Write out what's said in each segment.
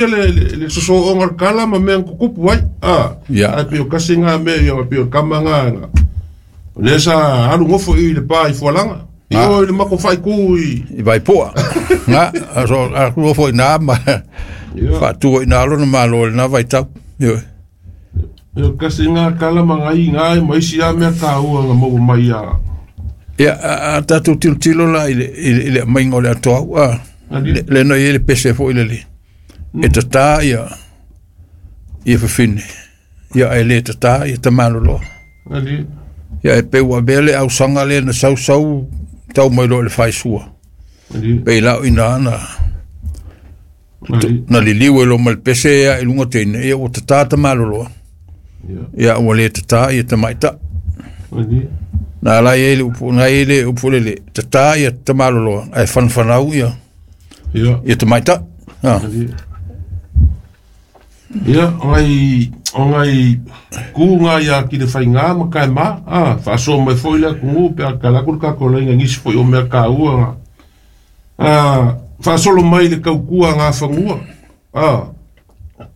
Le sosooga o le kala ma mea na tutupu ai. Ia. Ae pei o kasi lena mea, ia, pei o le kama lena o lea sa alu gofo i le pa i Fualaga. I o i le matou faaitu i I Vaipoa. Na, so a ku foi na ma faatua i na lona malo i lena vaitau. Ioe. O kasi lena kala ma ngai ina ma isi lava mea taua na maua mai ia. Ia, a tatou tilotilo la i le aumaiga o le atoau, a. Le na i ai le pese foi lele. E tatā ia fafine. Ia ae le tatā ia tamaloloa. Ia e pe ua avea le ausaga lea na sausau tau mai loa i le faisua. Pe lau ina na na liliu e lo ma le pese ia i luga teine, ia ua tatā tamaloloa. Ia ua le tatā ia tamaita. Na la i le upu, na i le upu lele, tatā ia tamaloloa, ae whanwhanau ia, ia tamaita. Ah. Ia, o ngai ku ngā ia ki le whainga ma kai ma, whaasoa mai foi le atunuu pe a kala ku le kako lainga ngisi foi o mea kāua ngā. Whaasolo mai le kaukua ngā whangua.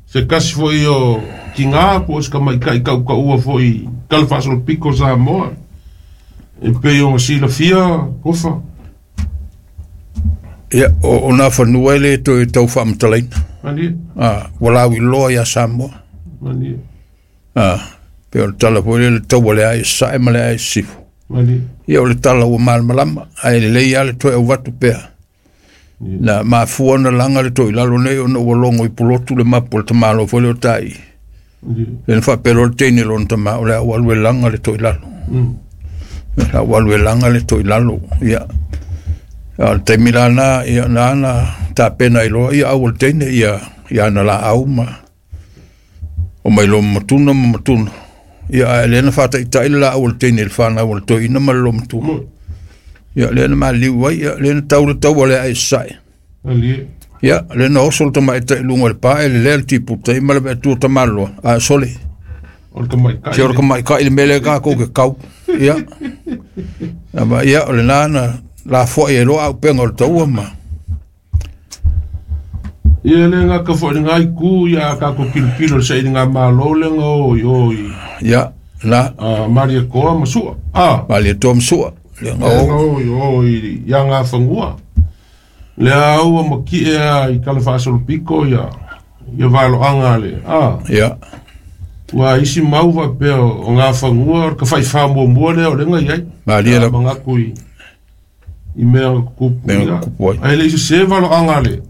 Se kasi foi o ki ngā po o se kamaikai kau kaua foi kala whaasolo piko Samoa. E pe o silafia, kofa. Ia, o nā whanua e le toe tau whaamatalaina. Ah, ua lau iloa ia Samoa. Ah, pe o le tala foi le taua le ai sae ma le ai sifo. Ia o le tala ua malamalama, ae lelei lava le toe auvatu pea. Na mafua ona laga le toilalo nei ona ua logo i pulotu le mapu o le tamalo foi lea o tai. Le na faapea le teine lona tama o le au alu e laga le toilalo. Le au alu e laga le toilalo. Ia. A o le taimi la na, ia na na tapena i loa ia au o le teine ia ia na la au ma o mai lo matuna ma matuna. Ia ae le na faataitai le laau o le teine i le fanau o le toeaina ma le lomatua. Ia lea na maliu ai, ia lea na tau le taua le ai sae. Ia lea na oso le tamaitai i luga o le pa e lelea le tiputa i ma le veatua tamaloa. A sole. O le tamaitai. Se o le tamaitai le mea lea tatou ke kau. Ia. Ama ia o le na lafoai e loa auupega o le taua ma. Ia le ngā ka foi ngā iku ia kako pilopilo le saili ngā malo le ngā o i o i Ia na Maria Koa ma sua. Malia toa ma sua. Le Le nga o. ngā o i o i ia ngā whangua. Le au ma ki e a i kala whaasolo piko ia ia valo anga le. Ia. Ua isi mau pea o ngā whangua o ka whai whamua mua le o le ngā iai. Malia la Mangaku i mea kupu. Mea ia. kupu ai. Ai le isi se valo anga le.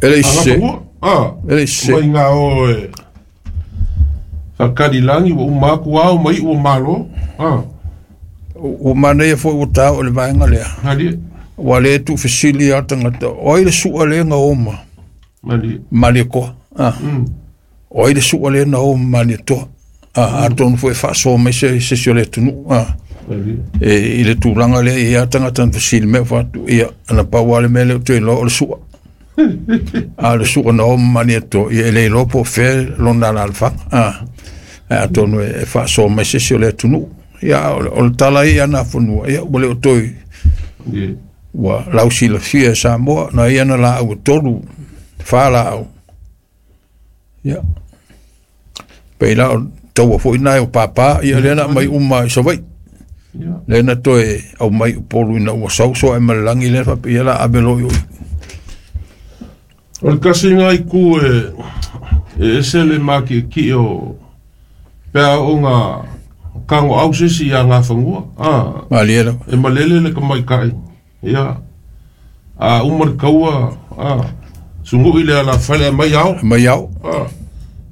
E le Anga ise. whangua. E le ise. Mai ngā o e whakarilangi wa umaku au mai ua malo. Ua manaia foi ua tā o le vaega lea. Hali, Ua le tu fesili a tangata. O ai le sua le nga oma. mali. Malia koa. Ah. O ai le sua le na oma malia toa. Ah, atonu foi faasoa mai se si o le atunuu. Ah. Mali. E, i le tulaga lea i a tagata na fesili mai faatu ia ana pau lava le mea lea ou te iloa o le sua. A o le sua na oma malia toa ia e le iloa po o fea lona alaalafaga. Ah. Ae atonu e faasoa mai se isi o le atunuu. Ia o le tala ia na fanua ia ua le o toe Ye. ua lausilafia e Samoa na ia na laau e tolu fa laau. Ia. Pei la o taua foi nai o pāpā ia lea na mai uma i Savaii. Lea na toe au mai Upolu ina ua sauso ai ma le lagi lea faapea ia la ave loa i o. O le kasi ngā iku e ese le maki ki o pea o ngā kango au sisi ia ngā whangua. Malie lava. E malele le kamaikai. Ia. A uma le kaua. Sungu i le ala whale mai au. Mai au.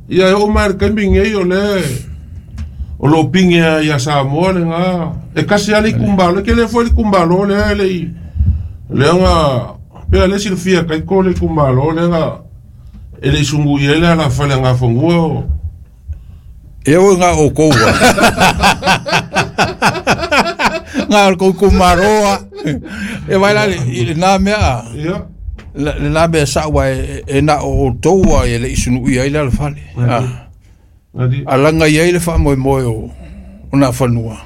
Ia e o mai le kambi ngei o le o lo pinge a ia Samoa le ngā. E kasi ale i kumbalo. Ke le foi le kumbalo le le i. Le ngā pea le silafia kai ko le kumbalo le ngā. E le sungu i ele ala whale ngā whangua o. E o ngā o koua. Ngā o kou kumaroa. E vai la i le nā mea a. Ia. Le nā mea saua e nā o taua e le isunu i ai le ala fale. Adi. A langa i ai le whaamoemoe o nā whanua.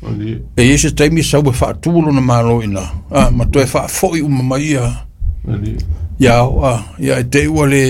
Adi. E i se taimi sau e whaatūlo na malo ina. Ma toe whaafoi uma mai ia. Ia ao, ia e te ua le.